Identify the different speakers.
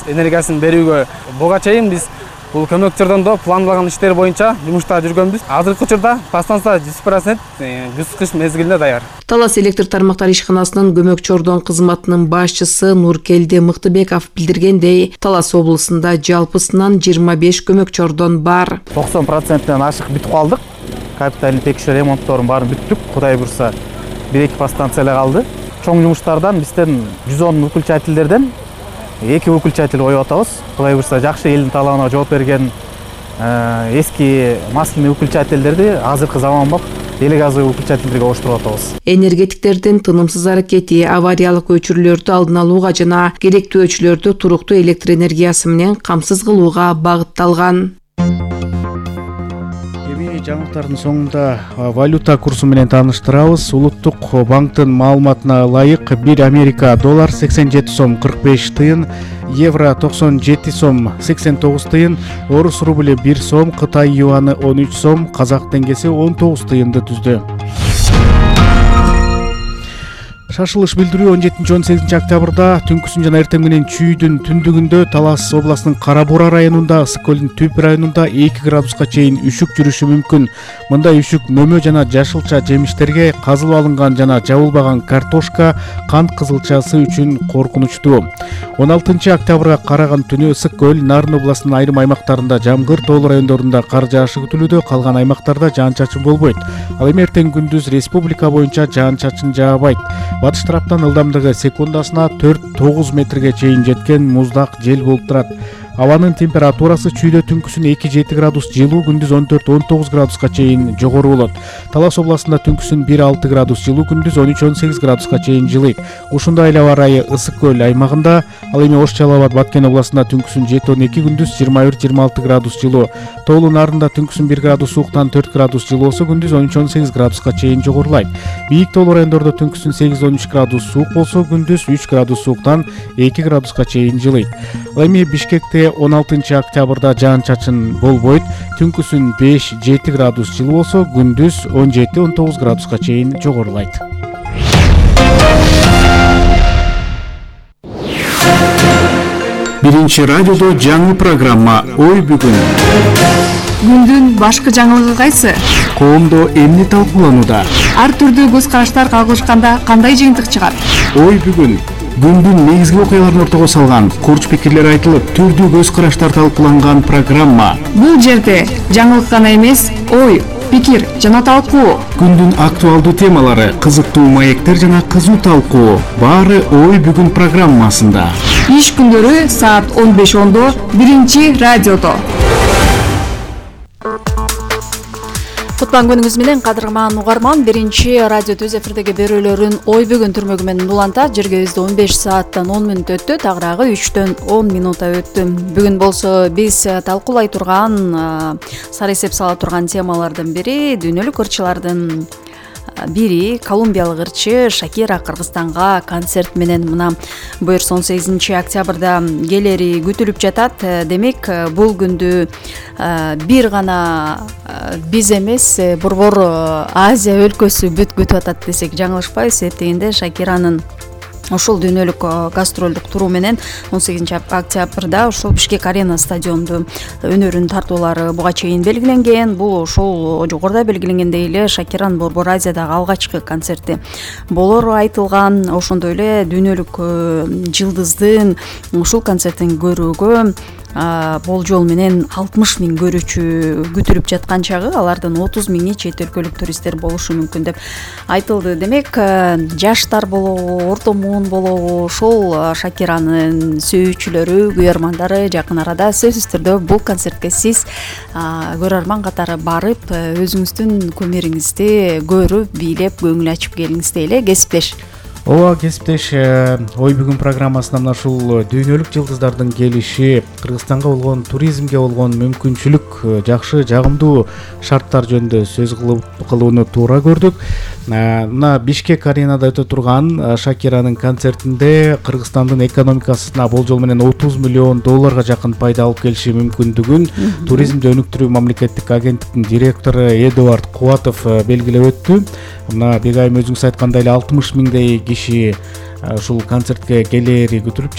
Speaker 1: энергиясын берүүгө буга чейин биз бул көмөк чордондо планлаган иштер боюнча жумушта жүргөнбүз. Азыркы учурда подстанция 100% кыш мезгилине даяр.
Speaker 2: Талас электр тармактар ишканасынын көмөк чордон кызматынын башчысы Нуркелди Мыктыбеков билдиргендей, Талас облусунда жалпысынан 25 көмөк чордон бар.
Speaker 3: 90%-тен ашык бүтүп калдык. Капиталдык текшерүү ремонтторун баарын бүттүк. Кудай буйрса 1-2 подстанция эле калды. Чоң жумуштардан бизден 110 өкүлчателдерден 2 өкүлчател коюп атабыз. Кудай буйрса жакшы элдин талабына жооп берген эски масляный өкүлчателдерди азыркы заманбап элек газовый өкүлчателдерге оштуруп атабыз.
Speaker 2: Энергетиктердин тынымсыз аракети авариялык өчүрүүлөрдү алдын алууга жана керектүү өчүрлөрдү туруктуу электр энергиясы менен камсыз кылууга багытталган.
Speaker 4: Жаңылыктардын соңунда валюта курсу менен тааныштырабыз. Улуттук банктын маалыматына ылайык 1 Америка доллар 87 сом 45 тыйын, евро 97 сом 89 тыйын, орус рубль 1 сом, Кытай юаны 13 сом, казак теңгеси 19 тыйынды түздү. Шашылыш билдирүү 17-18 октябрда түнкүсүн жана эртең менен чүйдүн түндүгүндө Талас областынын Кара Бура районунда, Ысык көлдүн Түп районунда 2 градуска чейин үшүк жүрүшү мүмкүн. Мындай үшүк мөмө жана жашылча жемиштерге, казылып алынган жана жабылбаган картошка, кант кызылчасы үчүн коркунучтуу. 16 октябрга караган түнү Ысык көл, Нарын областынын айрым аймактарында жамгыр, тоолуу райондорунда кар жаашы күтүлүүдө, калган аймактарда жаан-чачын болбойт. Ал эми эртең күндүз республика боюнча жаан-чачын жаабайт. Батыш тараптан ылдамдыгы секундасына 4-9 метрге чейин жеткен муздак жел болуп турат. Абанын температурасы чүйдө түнкүсүн 2-7 градус жылуу, күндүз 14-19 градуска чейин жогору болот. Талас областында түнкүсүн 1-6 градус жылуу, күндүз 13-18 градуска чейин жылыйт. Ушундай эле аба ырайы Ысык көл аймагында, ал эми Ош Жалал Абад Баткен областында түнкүсүн 7-12, күндүз 21-26 градус жылуу. Тоолуу Нарында түнкүсүн 1 градус сууктан 4 градус жылуу болсо, күндүз 13-18 градуска чейин жогорулайт. Бийик тоолуу райондордо түнкүсүн 8-13 градус суук болсо, күндүз 3 градус сууктан 2 градуска чейин жылыйт. Ал эми Бишкекте 16 октябрда жаан-чачын болбойт. Түнкүсүн 5-7 градус жылуу болсо, күндүз 17-19 градуска чейин жогорулайт.
Speaker 5: Биринчи радиодо жаңы программа Ой бүгүн.
Speaker 6: Күндүн башкы жаңылыгы кайсы?
Speaker 5: Коомдо эмне талкууланууда?
Speaker 6: Ар түрдүү көз караштар кагылышканда кандай жыйынтык чыгат?
Speaker 5: Ой бүгүн. Күндүн негизги окуяларын ортого салган, курч пикирлер айтылып, түрдүү көз караштар талкууланган программа.
Speaker 6: Бул жерде жаңылык гана эмес, ой, пикир жана талкуу.
Speaker 5: Күндүн актуалдуу темалары, кызыктуу маектер жана кызуу талкуу. Баары Ой бүгүн программасында.
Speaker 6: Иш күндөрү саат 15:10 биринчи радиодо. Кутман күнүңүз менен кадырман угарман, биринчи радио түз эфирдеги берүүлөрүн Ой бүгүн түрмөгү менен улантат. Жергебизде 15 сааттан 10 мүнөт өттү, тагыраагы 3төн 10 минута өттү. Бүгүн болсо биз талкуулай турган, сары эсеп сала турган темалардын бири дүйнөлүк ырчылардын бири колумбиялык ырчы Шакира Кыргызстанга концерт менен мына буюрса 18 октябрда келери күтүлүп жатат. Демек, бул күндү бир гана биз эмес, борбор Азия өлкөсү бүт күтүп атат десек жаңылышпайбыз. Эртеңинде Шакиранын ошол дүйнөлүк гастролдук туру менен 18 октябрда ошол Бишкек Арена стадионду өнөрүн тартуулары буга чейин белгиленген. Бул ошол жогоруда белгиленгендей эле Шакиранын борбор Азиядагы алгачкы концерти болору айтылган. Ошондой эле дүйнөлүк жылдыздын ушул концертин көрүүгө болжол менен 60 000 көрүүчү күтүлүп жаткан чагы, алардын 30 000 чет өлкөлүк туристтер болушу мүмкүн деп айтылды. Демек, жаштар болобу, орто муун болобу, ошол Шакиранын сүйүүчүлөрү, күйөрмандары жакын арада сөзсүз түрдө бул концертке сиз көрөрман катары барып, өзүңүздүн кумириңизди көрүп, бийлеп, көңүл ачып келиңиз дейле. Кесиптеш.
Speaker 4: Ооба, кесиптеш, Ой бүгүн программасында мына ушул дүйнөлүк жылдыздардын келиши, Кыргызстанга болгон туризмге болгон мүмкүнчүлүк, жакшы, жагымдуу шарттар жөнүндө сөз кылууну туура көрдүк. Мына Бишкек Аренада өтө турган Шакиранын концертинде Кыргызстандын экономикасына болжол менен 30 миллион долларга жакын пайда алып келиши мүмкүндүгүн туризмди өнүктүрүү мамлекеттик агенттиктин директору Эдуард Кубатов белгилеп өттү. Мына бегайым өзүңүз айткандай эле 60 000 киши ушул концертке келери күтүлүп